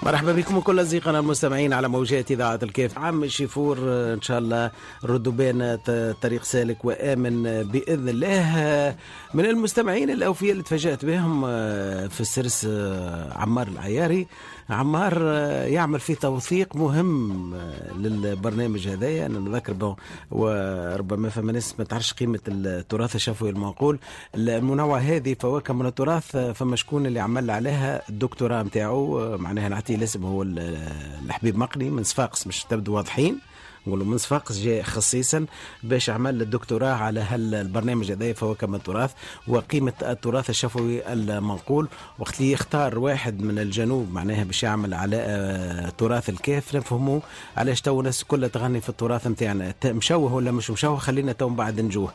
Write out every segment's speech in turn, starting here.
مرحبا بكم كل اصدقائنا المستمعين على موجات اذاعة الكاف. عم الشيفور ان شاء الله ردوا بين طريق سالك وامن باذن الله. من المستمعين الاوفياء اللي تفاجات بهم في السرس عمار العياري. عمار يعمل في توثيق مهم للبرنامج هذايا. انا نذكر bon وربما فما ناس ما تعرفش قيمة التراث الشفوي المنقول، المنوع هذه فواكه من التراث، فما شكون اللي عمل عليها الدكتوراه نتاعو، معناها نعطيه الاسم هو الحبيب مقني من صفاقس، مش تبدو واضحين نقولوا من صفاقس جاء خصيصا باش عمل الدكتوراه على هالبرنامج هذا فواكه من التراث وقيمة التراث الشفوي المنقول. وقت اللي يختار واحد من الجنوب معناها باش يعمل على تراث الكاف، نفهموا علاش تو الناس كلها تغني في التراث نتاعنا، مشوه ولا مش مشوه، خلينا تو من بعد نجوه.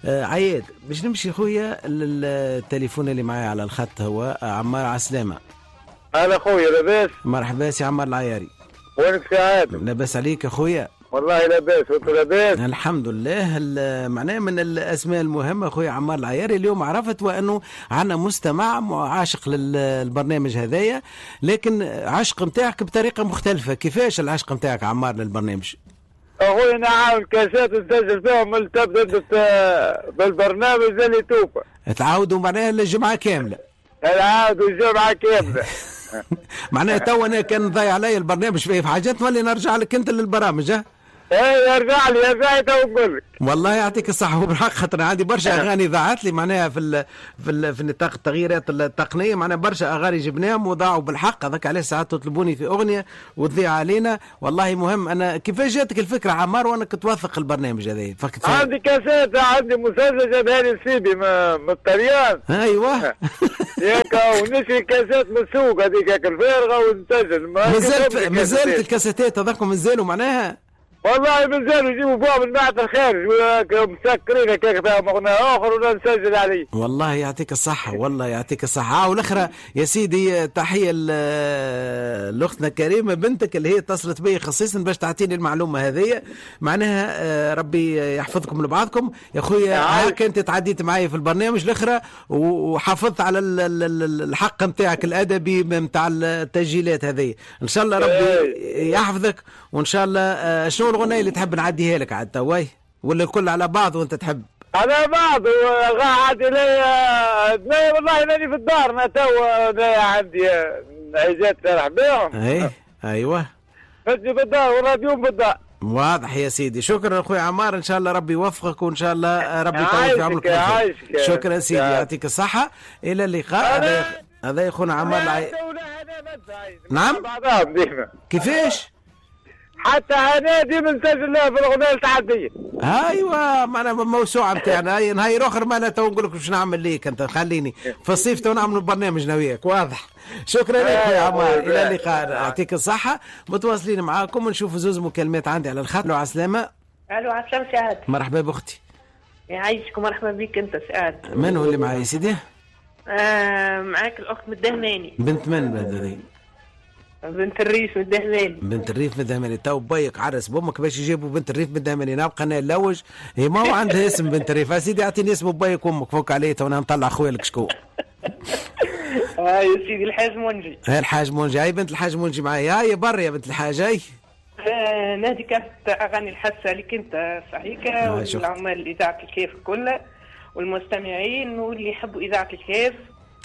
عياد باش نمشي خويا للتليفون اللي معايا على الخط هو عمار. عسلامة. هلا خويا، لاباس؟ مرحبا سي عمار العياري. وينك سي عادل؟ لاباس عليك يا خويا؟ والله لاباس، وانت لاباس؟ الحمد لله. معناه من الاسماء المهمة خويا عمار العياري، اليوم عرفت وانه عندنا مستمع عاشق للبرنامج هذايا، لكن عشق نتاعك بطريقة مختلفة. كيفاش العشق نتاعك عمار للبرنامج؟ اخويا انا عامل كاسات نسجل فيهم من تبدا بالبرنامج اللي توفى. تعاودوا معناها الجمعة كاملة. نعاودوا الجمعة كاملة. معناها تو انا كان ضايع علي البرنامج في حاجات نولي نرجع لك انت للبرامج. ها؟ ايه ارجع لي، ارجع لي تو نقول لك. والله يعطيك الصحة وبالحق، خاطر عندي برشا اغاني ضاعت لي معناها في نطاق التغييرات التقنية، معناها برشا اغاني جبناهم وضاعوا بالحق. هذاك علاش ساعات تطلبوني في اغنية وتضيع علينا. والله مهم. انا كيفاش جاتك الفكرة عمار وانك توثق البرنامج هذا؟ عندي كاسات، عندي مسلسل جابها لي سيدي من الطليان. ايوه ياك، ونشري كاسات من السوق هذيك الفارغة ونسجل. مازالت الكاساتات هذاك مازالوا معناها؟ والله مازالوا يجيبوا فيها من بعد الخارج مسكرين هكاك فيها مغنى اخر ولا نسجل عليه. والله يعطيك الصحة، والله يعطيك الصحة. والأخرى يا سيدي تحية لأختنا كريمة بنتك اللي هي اتصلت بي خصيصا باش تعطيني المعلومة هذه. معناها ربي يحفظكم لبعضكم يا خويا. هاك انت تعديت معايا في البرنامج الأخرى وحافظت على الحق نتاعك الأدبي نتاع التسجيلات هذه. إن شاء الله ربي يحفظك، وإن شاء الله. شنو الغنية اللي تحب نعديها لك عاد تواي ولا الكل على بعض وانت تحب؟ على بعض. عادي لي والله ماني في الدار انا تو، عندي عيزات نرح بهم. اي ايوه فجي بالدار والراديو بالدار. واضح يا سيدي. شكرا اخوي عمار، ان شاء الله ربي يوفقك وان شاء الله ربي يطول في عمرك. شكرا سيدي، يعطيك الصحة. الى اللقاء. هذا يا اخونا عمار. نعم كيفاش؟ حتى انا ديما نسجل لها في الاغنية التعديه. ايوه معنا موسوعة نتاعنا نهار اخر ما تو نقول لك باش نعمل ليك انت، خليني في الصيف تو نعملوا برنامج انا وياك. واضح. شكرا لك يا عمار، الى اللقاء، يعطيك الصحة. متواصلين معاكم ونشوف زوز مكالمات عندي على الخط. الو عسلامة. الو عسلامة سعاد. مرحبا باختي. يعيشك ومرحبا بك انت سعاد. من هو اللي معايا يا سيدي؟ معاك الاخت من الدهماني. بنت من هذه؟ بنت الريف من الدهماني. بنت الريف من الدهماني. تو بيك عرس بامك باش يجيبوا بنت الريف من الدهماني. نبقى انا نلوج، هي ما هو عندها اسم بنت الريف. سيدي اعطيني اسم بيك وامك فوق عليه تو انا نطلع خويا لك شكون. يا سيدي الحاج منجي. هاي الحاج منجي، هاي بنت الحاج منجي معايا. هاي بر يا بنت الحاج. هاي نادي كانت اغاني الحاسة لك انت صحيحه، والعمال اذاعة الكيف كلها والمستمعين واللي يحبوا اذاعة الكيف.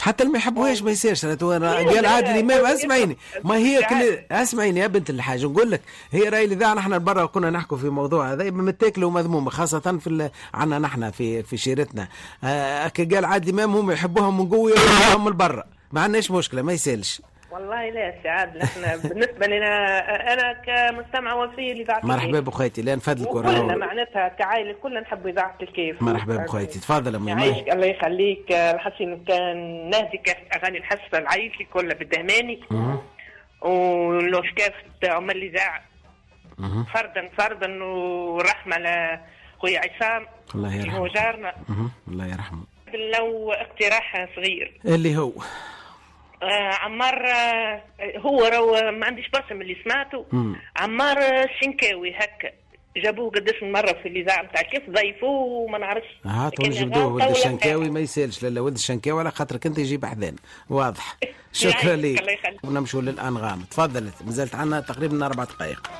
حتى اللي ما يحبوهاش ما يصيرش. قال عادل امام اسمعيني، ما هي كل اسمعيني يا بنت الحاج نقول لك، هي راي الاذاعة. نحن برا كنا نحكوا في موضوع هذا متاكله ومذمومه، خاصة في عندنا نحن في شيرتنا. قال عادل امام هم يحبوها من جوه ويحبوها من برا، ما عندناش مشكلة ما يسالش. والله لا سعاد، نحن بالنسبة لنا انا كمستمعه وفيه لاذاعة الكيف. مرحبا بخيتي، لا نفدلك كلنا معناتها كعائله كلنا نحب اذاعة الكيف. مرحبا بخيتي، تفضل امي. يعيشك الله يخليك. الحسين كان نهدي كاف اغاني الحسه العائلتي كلها بالدهماني ولو كاف عمال الاذاعة فردا فردا، ورحمة لخويا عصام الله يرحمه هو جارنا. الله يرحمه. لو اقتراح صغير اللي هو عمار، هو رو ما عنديش برشا من اللي سمعته. عمار الشنكاوي هكا جابوه قداش من مرة في الاذاعة نتاع كيف ضيفوه وما نعرفش. هاتوا نجبدوه ولد الشنكاوي ما يسالش. لا ولد الشنكاوي على خاطرك انت يجيب حذان واضح. شكرا لك. ونمشوا للانغام. تفضلت، مازالت عندنا تقريبا 4 دقائق.